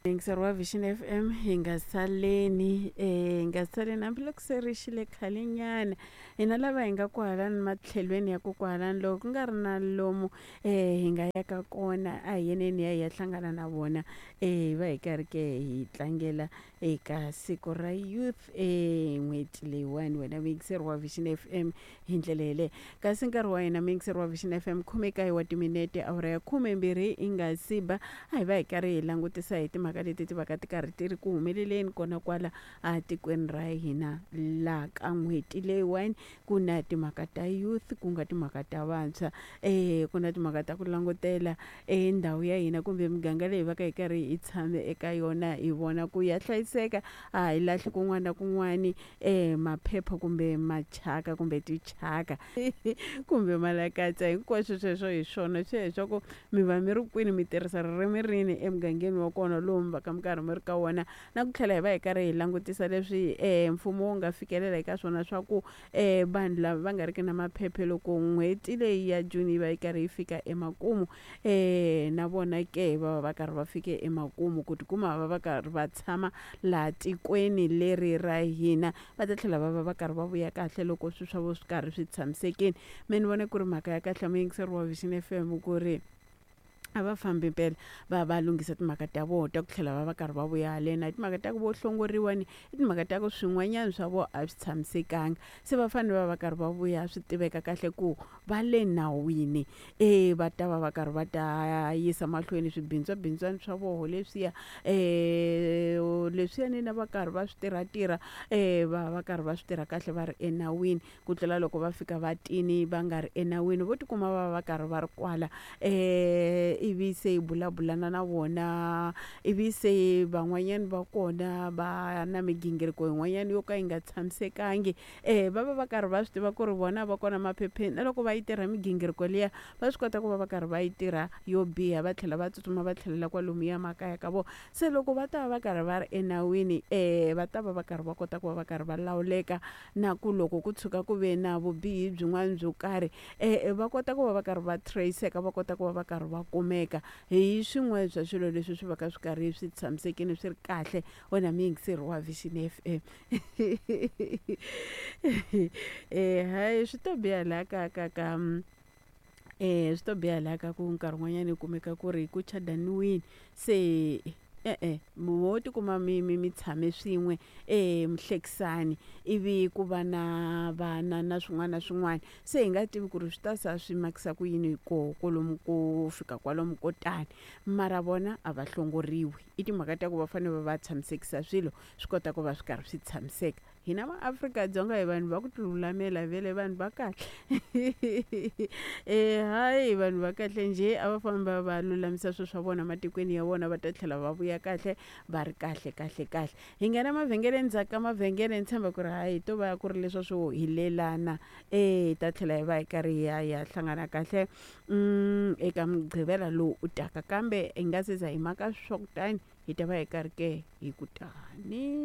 Yingiseri wa Vision FM hi nga saleni hi nga saleni hambiloko se ri xile khalenyana hina lava hi nga kwahalani matlhelweni ya kokwahalani loko ku nga ri na lomu hi nga yaka kona a hi yeneni hi ya hi ya hlangana na vona hi va hi karhi ke hi tlangela eka siku ra youth n'hweti leyiwani wena muyingiseri wa Vision FM hi ndlela yeleyo kasi nkarhi wa hina muyingiseri wa Vision FM 19 wa timinete awara ya 12 yi nga si ba a hi va hi karhi hi langutisa hi timhaka leti ti va ka ti karhi ti ri ku humeleleni kona kwala a tikweni ra hina laha ka n'hweti leyiwani ku na timhaka ta youth ku nga timhaka ta vantshwa ku na timhaka ta ku langutela ndhawu ya hina kumbe miganga leyi va ka hi karhi hi tshame eka yona hi vona ku ya hlayiseka a hi lahli kun'wana na kun'wani maphepha kumbe machaka kumbe tichaka kumbe malakatsa hinkwaswo sweswo hi swona swi ya ku mi va mi ri kwini mi tirhisa ririmi rini emugangeni wa kona lowu mi va ka mi karhi mi ri ka wona na ku tlhela hi va hi karhi hi langutisa leswi mfumo wu nga fikelela eka swona swa ku vanhu lava va nga ri ki na maphephe loko n'hweti leyi ya June yi va yi karhi yi fika emakumu na vona ke va va va karhi va fike emakumu ku tikuma va va karhi va tshama laha tikweni leri ra hina va ta tlhela va va va karhi va vuya kahle loko swilo swa vona swi karhi swi tshamisekile me ni vona ku ri mhaka ya kahle muyingiseri wa Vision FM ku ri a va fambi mpela va va lunghisa timhaka ta vona ta ku tlhela va va karhi va vuya haleni a hi timhaka ta ku vo hlongoriwa ni i timhaka ta ku swin'wanyana swa vona a swi tshamisekanga se va fanele va va karhi va vuya swi tiveka kahle ku va le nawini e va ta va va karhi va ta yisa mahlweni swibindzwabindzwana swa voho leswiya leswiyani na va karhi va swi tirhatirha va va karhi va swi tirha kahle va ri enawini ku tlula loko va fika va tini va nga ri enawini vo tikuma va va karhi va ri kwala ivi se hi bulabulana na vona ivi se van'wanyana va kona va na migingiriko yin'wanyana yo ka yi nga tshamisekangi va va va karhi va swi tiva ku ri vona va kona maphepheni na loko va yi tirha migingiriko liya va swi kota ku va va karhi va yi tirha yo biha va tlhela va tsutsuma va tlhelela kwalomuya makaya ka vona se loko va ta va va karhi va ri enawini va ta va va karhi va kota ku va va karhi va lawuleka na ku loko ku tshuka ku ve na vubihi byin'wana byo karhi va kota ku va va karhi va trace-eka va kota ku va va karhi va kumeka hi swin'wana swa swilo leswi swi va ka swi karhi swi tshamisekile swi ri kahle wena muyingiseri wa Vision FM hayi swi to biha laha ka ka ka swi to biha laha ka ku nkarhi wun'wanyana u kumeka ku ri ku chadaniwini se e-e mo tikuma mi mi mi tshame swin'we mi hlekisani ivi ku va na vana na swin'wana na swin'wana se hi nga tivi ku ri swi ta sa swi makisa ku yini koho kwalomu ko fika kwalomu ko tani mara vona a va hlongoriwi i timhaka ta ku va fanele va va tshamisekisa swilo swi kota ku va swi karhi swi tshamiseka hina maAfrika-Dzonga hi vanhu va ku tilulamela vhele vanhu va kahle hayi vanhu va kahle njhe a va fambi va va lulamisa swilo swa vona matikweni ya vona va ta tlhela va vuya kahle va ri kahle kahle kahle hi nghena mavhengeleni ndzhaku ka mavhengele ni tshemba ku ri hayi to va ku ri leswa swo hi lelana hi ta tlhela hi va hi karhi hi ya hi ya hlangana kahle eka mugqivela lowu u taka kambe hi nga se za hi maka swa kutani hi ta va hi karhi ke hi ku tani.